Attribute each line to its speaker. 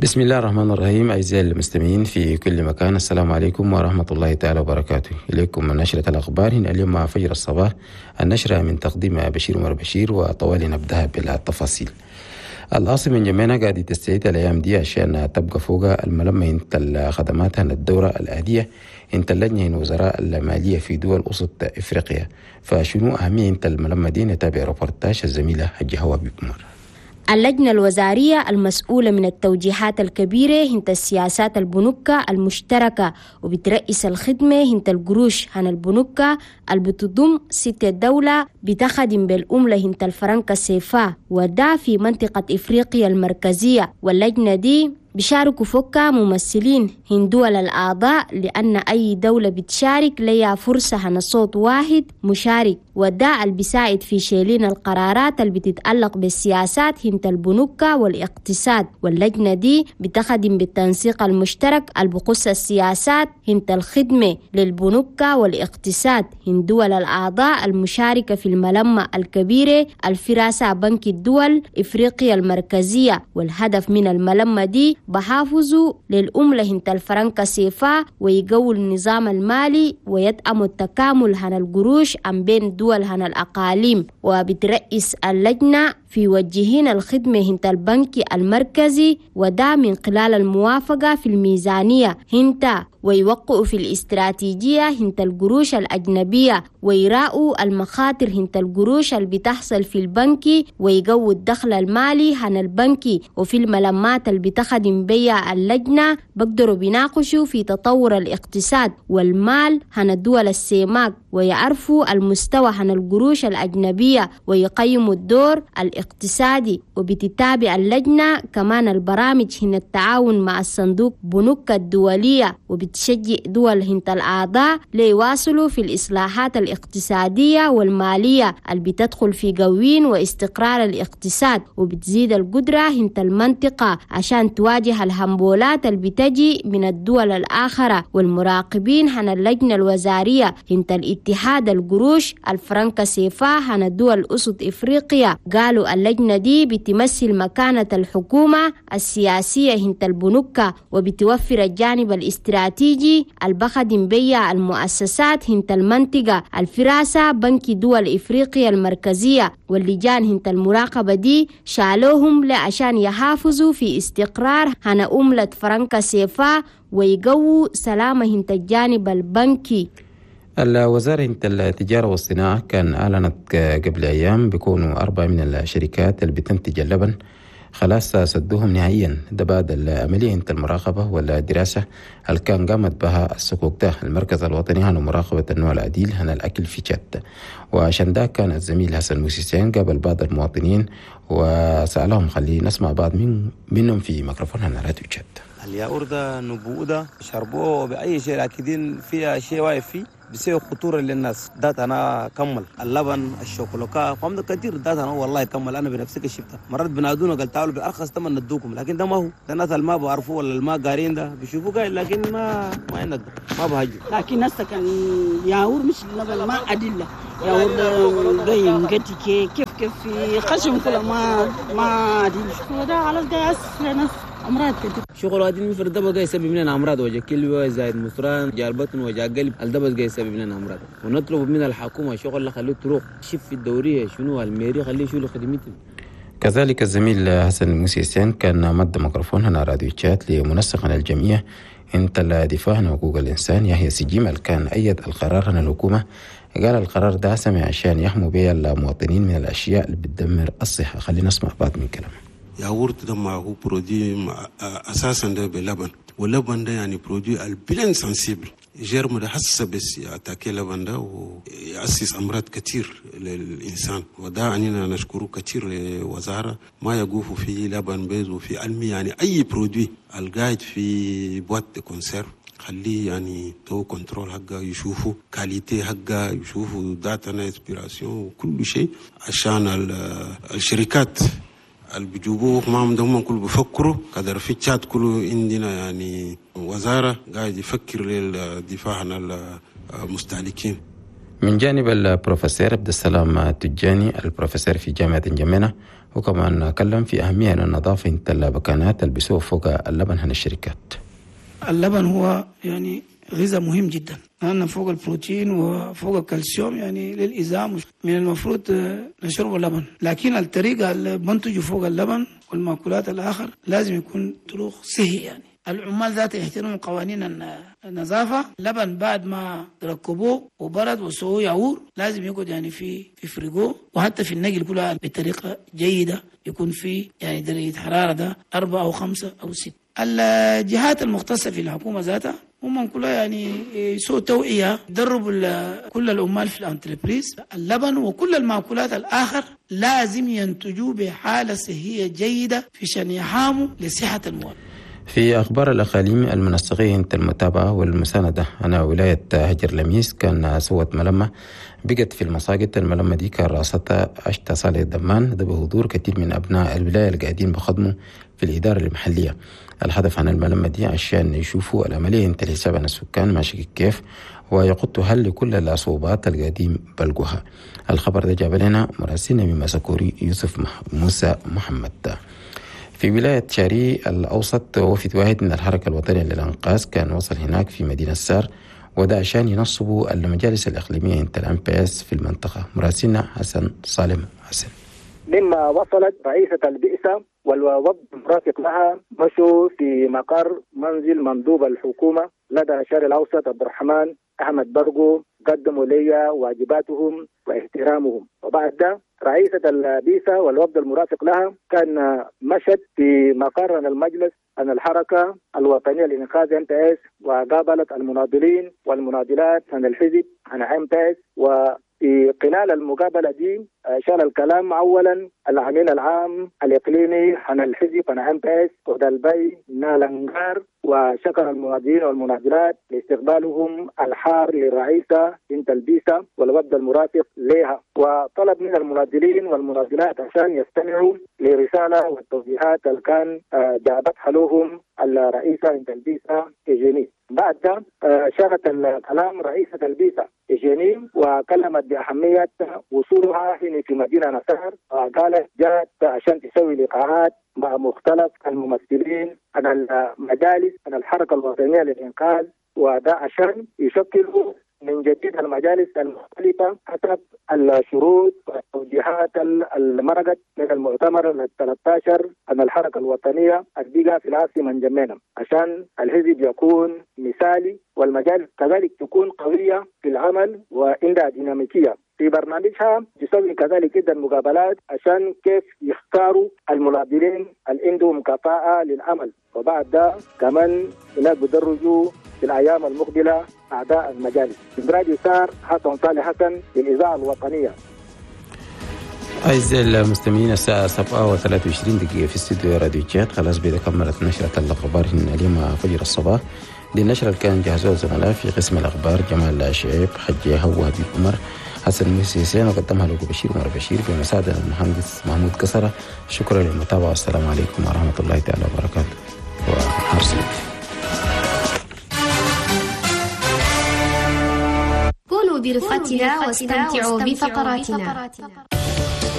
Speaker 1: بسم الله الرحمن الرحيم. أعزائي المستمعين في كل مكان، السلام عليكم ورحمة الله تعالى وبركاته. إليكم من نشرة الأخبار هنا اليوم مع فجر الصباح، النشرة من تقديم بشير عمر بشير، وطوالي نبدأها بالتفاصيل. العاصمة انجمينا قاعدة تستعيد الأيام دي عشان تبقى فوق الملمة انت الخدمات الدورة الآدية انت اللجنة وزراء المالية في دول وسط إفريقيا. فشنو أهمية انت الملمة دي؟ نتابع ريبورتاج الزميلة الجهوة بمر.
Speaker 2: اللجنة الوزارية المسؤولة من التوجيهات الكبيرة هنت السياسات البنوكة المشتركة، وبترئيس الخدمة هنت القروش هن البنوكة اللي بتضم 6 دولة بتخدم بالأملة هنت الفرنك السيفا، وده في منطقة إفريقيا المركزية. واللجنة دي بيشاركوا فوكا ممثلين هن دول الأعضاء، لأن أي دولة بتشارك ليها فرصة هن صوت واحد مشارك، وده اللي بيساعد في شيلين القرارات اللي بتتعلق بالسياسات هنت البنوكة والاقتصاد. واللجنة دي بتخدم بالتنسيق المشترك اللي بخص السياسات هنت الخدمة للبنوكة والاقتصاد هن دول الأعضاء المشاركة في الملمة الكبيرة الفراسة بنك الدول إفريقيا المركزية. والهدف من الملمة دي بحافظوا للأملة هنت الفرنك سيفا، ويقووا النظام المالي، ويدعموا التكامل هن القروش عن بين دول هن الأقاليم. وبترئيس اللجنة في وجهين الخدمة هنت البنك المركزي، وده من خلال الموافقة في الميزانية هنت، ويوقعوا في الاستراتيجية هنت القروش الأجنبية، ويراءوا المخاطر هنت القروش اللي بتحصل في البنك، ويقووا الدخل المالي هن البنك. وفي الملمات اللي بتخدم بيها اللجنة بقدروا بيناقشوا في تطور الاقتصاد والمال هن الدول السيماك، ويعرفوا المستوى هن القروش الأجنبية، ويقيموا الدور الاقتصادي. وبتتابع اللجنة كمان البرامج هن التعاون مع الصندوق بنوك الدولية، وبتشجع دول هنت الأعضاء ليواصلوا في الإصلاحات الاقتصادية والمالية اللي بتدخل في قوين واستقرار الاقتصاد، وبتزيد القدرة هنت المنطقة عشان تواجه الهمبولات اللي بتجي من الدول الآخرة. والمراقبين هن اللجنة الوزارية هنت الاتحاد القروش الفرنكا سيفا هن الدول أسط إفريقيا قالوا اللجنة دي بتمثل مكانة الحكومة السياسية هنت البنوكة، وبتوفر الجانب الاستراتيجي البخدم بيا المؤسسات هنت المنطقة الفراسة بنك دول إفريقيا المركزية. واللجان هنت المراقبة دي شالوهم لعشان يحافظوا في استقرار هن أملة فرنكا سيفا، ويقووا سلامة هنت الجانب البنكي.
Speaker 1: الوزارة التجارة والصناعة كان أعلنت قبل أيام بيكونوا 4 من الشركات اللي بتنتج اللبن خلاص سدوهم نهائيا، ده بعد العملية انت المراقبة والدراسة اللي كان قامت بها السكوك ده المركز الوطني هنا مراقبة النوع العديل هنا الأكل في تشاد. وعشان ده كان الزميل حسن موسيسين قابل بعض المواطنين وسألهم، خليه نسمع بعض منهم في ميكروفون هنا راديو تشاد.
Speaker 3: الياقور ده نبوء ده شربوه بأي شيء، لكن فيها شيء واقف فيه بيسوي خطورة للناس. ده أنا كمل اللبن الشوكولاتة قام كثير، ده أنا والله كمل أنا بنفسي شفتها مرات بنادونا قال تعالوا بأرخص ثمن ندوكم، لكن ده ما هو ده الناس اللي ما بعرفوه ولا اللي ما قارين ده بيشوفوه قايل، لكن ما عندك ما بهجوا.
Speaker 4: لكن هسه كان ياور مش اللبن ما أدلة ياور ده ينقتي كيف في خشم كله ما أدلة وده على ده ناس أمراض كتير.
Speaker 5: شغل هذه المفرد ده بقى يسبب لنا أمراض، وجه كلوة زايد مصران جار بطن وجه قلب، الدبس جاي يسبب لنا أمراض. ونطلب من الحكومة شغل اللي خليه تروح شف في الدورية شنو الميري خليه شو خدمته.
Speaker 1: كذلك الزميل حسن موسيسين كان مد ميكروفون هنا راديو تشات لمنسق الجمعية انت الدفاع عن حقوق الإنسان يحيى سجيم كان أيد القرار هنا الحكومة، قال القرار ده سمع عشان يحموا بيه المواطنين من الأشياء اللي بتدمر الصحة. خلينا نسمع بعض من كلامه.
Speaker 6: ياغورت ده ما هو produit اساسا ده بلبن، واللبن ده يعني produit ال bien sensible، germe ده حسه بس ي attaquer لبن ده ويأسس امراض كتير للانسان. وده عنينا نشكره كتير لوزاره ما يقوفوا في لبن بيز وفي علمي، يعني اي produit القاعد في boîte de conserve خليه يعني تو contrôle حقه، يشوفوا qualité حقه، يشوفوا date expiration وكل شيء، عشان الشركات اللي بيجيبوه معهم ده هم كله بيفكروا قدر في تشات كله عندنا يعني وزارة قاعد يفكر للدفاع عن المستهلكين.
Speaker 1: من جانب البروفيسور عبد السلام التجاني البروفيسور في جامعة انجمينا، وكمان كلم في أهمية النظافة البكانات اللي بيسووا فوق اللبن هن الشركات.
Speaker 7: اللبن هو يعني غذاء مهم جدا، لأن فوق البروتين وفوق الكالسيوم يعني للإزام، من المفروض نشرب اللبن، لكن الطريقة اللي بنتجوا فوق اللبن والمأكولات الآخر لازم يكون طرق صحي. يعني العمال ذات يحترموا قوانين النظافة. اللبن بعد ما ركبوه وبرد وسووه يعور لازم يقعد يعني في فريقه، وحتى في النقل كلها بطريقة جيدة، يكون في يعني درجة حرارة ده 4 أو 5 أو 6. الجهات المختصة في الحكومة ذاتها هم كلها يعني يسووا توعية، يدربوا كل العمال في ال entreprise. اللبن وكل المأكولات الآخر لازم ينتجوا بحالة صحية جيدة في شأن يحاموا لصحة المواطن.
Speaker 1: في أخبار الأقاليم، المنسقية المتابعة والمساندة أنا ولاية هجر لميس كان سوت ملمة بقت في المساجد. الملمة دي كان رأستها أشتا صالح الدمان، ده بحضور كثير من أبناء الولاية اللي قاعدين بخدموا في الإدارة المحلية. الهدف عن الملمة دي عشان يشوفوا العملية انت الحساب عن السكان ماشي كيف، ويقطوا هل لكل الصعوبات القديم بلقوها. الخبر ده جاب لنا مراسلنا من مساكوري يوسف موسى محمد. في ولاية شاري الأوسط وفد واحد من الحركة الوطنية للإنقاذ كان وصل هناك في مدينة سار، وده عشان ينصبوا المجالس الإقليمية انت الأمبيس في المنطقة. مراسلنا حسن صالم حسن.
Speaker 8: مما وصلت رئيسة البئسة والوفد المرافق لها مشوا في مقر منزل مندوب الحكومة لدى شاري الأوسط عبد الرحمن أحمد برقو، قدموا لي واجباتهم واحترامهم. وبعد ده رئيسة البيسة والوفد المرافق لها كان مشت في مقر المجلس عن الحركة الوطنية لإنقاذ MPS، وقابلت المناضلين والمناضلات عن الحزب عن MPS. وفي خلال المقابلة دي شال الكلام أولا الأمين العام الإقليمي عن الحزب عن MPS ودالبي نالنجار، وشكر المناضلين والمناضلات لاستقبالهم الحار للرئيسة بنت البيسة والوفد المرافق لها، وطلب من المناضلين والمناضلات عشان يستمعوا لرسالة والتوجيهات اللي كان جابتها لهم الرئيسة بنت البيسة إيجيني. بعد ده شارت الكلام رئيسة البيسة إيجيني وكلمت بأهمية وصولها هنا في مدينة نصر، وقالت جاءت عشان تسوي لقاءات مع مختلف الممثلين عن المجالس عن الحركة الوطنية للإنقاذ، وده عشان يشكلوا من جديد المجالس المختلفة حسب الشروط والتوجيهات المرقت من المؤتمر ال13 عن الحركة الوطنية البيئة في العاصمة انجمينا، عشان الحزب يكون مثالي والمجالس كذلك تكون قوية في العمل وعندها ديناميكية. في برنامجها تسوي كذلك جدا مقابلات عشان كيف يختاروا المناضلين اللي عندهم كفاءة للعمل، وبعد ده كمان هناك بدرجوا في الأيام المقبلة أعداء المجالس. من راديو سار، حسن صالح حسن للإذاعة الوطنية.
Speaker 1: أعزائي المستمعين، الساعة 7:23 في استوديو راديو تشاد. خلاص بيدا كملت نشرة الأخبار هنا اليوم فجر الصباح. دي النشرة اللي كان جهزوها الزملاء في قسم الأخبار جمال شعيب، حجي هو حبيب عمر، حسن موسى حسين، وقدمها لكم بشير عمر بشير بمساعدة المهندس محمود كسرة. شكرا للمتابعة، والسلام عليكم ورحمة الله تعالى وبركاته، ونهار سعيد.
Speaker 9: كونوا برفقتنا واستمتعوا بفقراتنا.